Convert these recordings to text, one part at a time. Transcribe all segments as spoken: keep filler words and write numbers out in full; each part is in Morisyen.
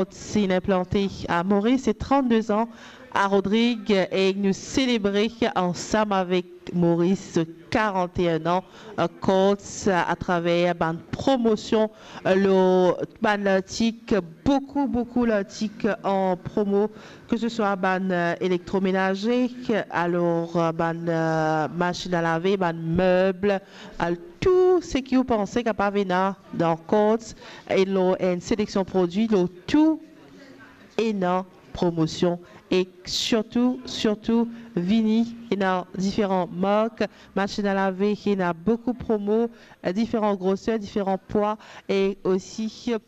Courts inn inplante a Moris, se trannde an a Rodrig, e nou selebre ansam avek Moris karant-e-enn an, eh, Courts, eh, atraver bann promosion, eh, lor bann lartik, boukou, boukou lartik an promo, ke se swa bann, eh, elektromenaze, alor, eh, bann, eh, masinn a lave, bann meb, al-, tou seki ou panse kapav ena dan Courts, e lor enn seleksion prodwi, lor tou ena promosion. E sirtou, sirtou, vini, ena diferan mark masinn a lave, ena boukou promo, eh, diferan groser, diferan pwa, e osi, eh,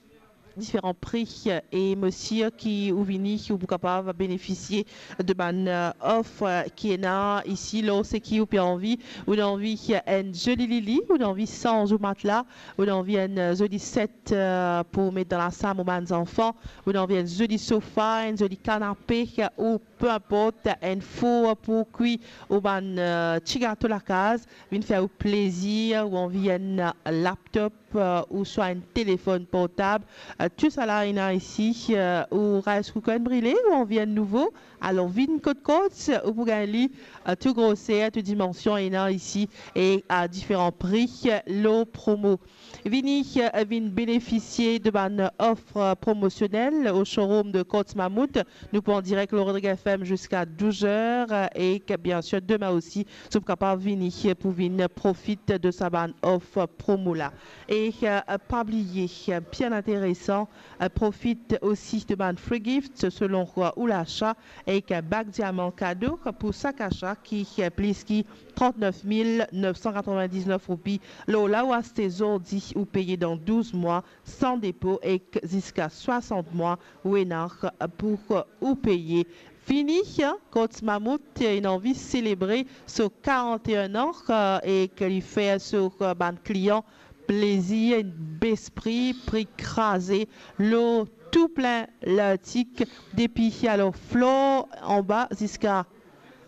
diferan pri. E mo sir ki ou vini, ou pou kapav benefisie de bann, eh, of, eh, ki ena isi. Lor seki ou pe anvi, ou anvi, eh, enn zoli lili, ou anvi sanz ou matla, ou anvi enn, eh, zoli set, eh, pou met dan lasam ou bann zanfan, ou anvi enn zoli sofa, enn zoli kanape, eh, ou pe inport, enn four pou kwi ou bann, eh, ti gato lakaz, vinn fer ou plezir, ou anvi enn, eh, laptop, eh, ouswa enn telefonn portab, eh, tousala ena isi, eh, ou rice cooker inn brile, ou anvi enn nouvo, alor vinn kot Courts, ou pou gagn li, eh, tou groser, tou dimansion ena isi, e a diferan pri, eh, lor promo. Vini, eh, vinn benefisie de bann of promosionel o showroom de Courts Mammouth. Nou pou an direk lor Rodrig F M ziska douz er, eh, e ke, biensir, demin osi, zot pou kapav vini, eh, pou vinn profit de sa bann of promo la. E, eh, pa bliye, eh, bien interesan, eh, profit osi de bann free gift selon ou lasa, ek bag diaman kado pou sak asa ki plis ki trant-nef mil nef san katrovin-diz-nef roupi. Lor la ou aste zordi, ou peye dan douz mwa san depo ek ziska swasant mwa ou ena pou ou peye. Vini, Courts Mammouth inn anvi selebre so karant-e-enn an, e ke li fer so bann klian plezir, enn bes pri, pri kraze, lor tou plin lartik, depi alor flor anba ziska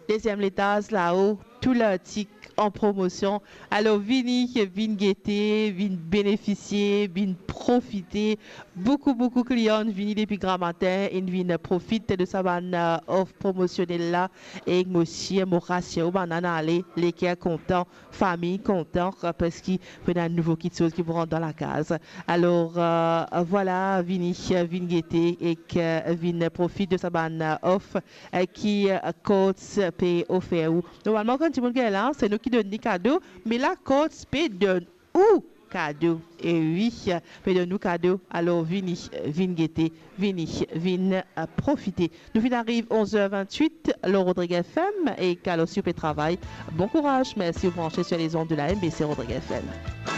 deziem letaz lao, tou lartik an promosion. Alor vini, vinn gete, vinn benefisie, vinn profite. Boukou, boukou klian vini depi gramatin, inn vinn profit de sa bann, eh, of promosionel la. E mo sir, mo rasir ou, bann inn ale leker kontan, fami kontan, parski pou ena nouvo kitsoz ki pou rant dan lakaz. Alor, eh, vwala, vini, vinn gete ek, eh, vinn profit de sa bann, eh, of, eh, ki, eh, Courts pe ofer ou. Normalman, kan dimoun gagn la, se nou ki donn li kado, me la, Courts pe donn ou kado. E wi, pe donn ou kado. Alor, vini, vinn gete, vini, vinn, eh, profite. Nou finn ariv onz er vintwit lor Rodrig F M, e alor si ou pe travay, bon kouraz, mersi ou branche sur les ondes de la M B C Rodrig F M.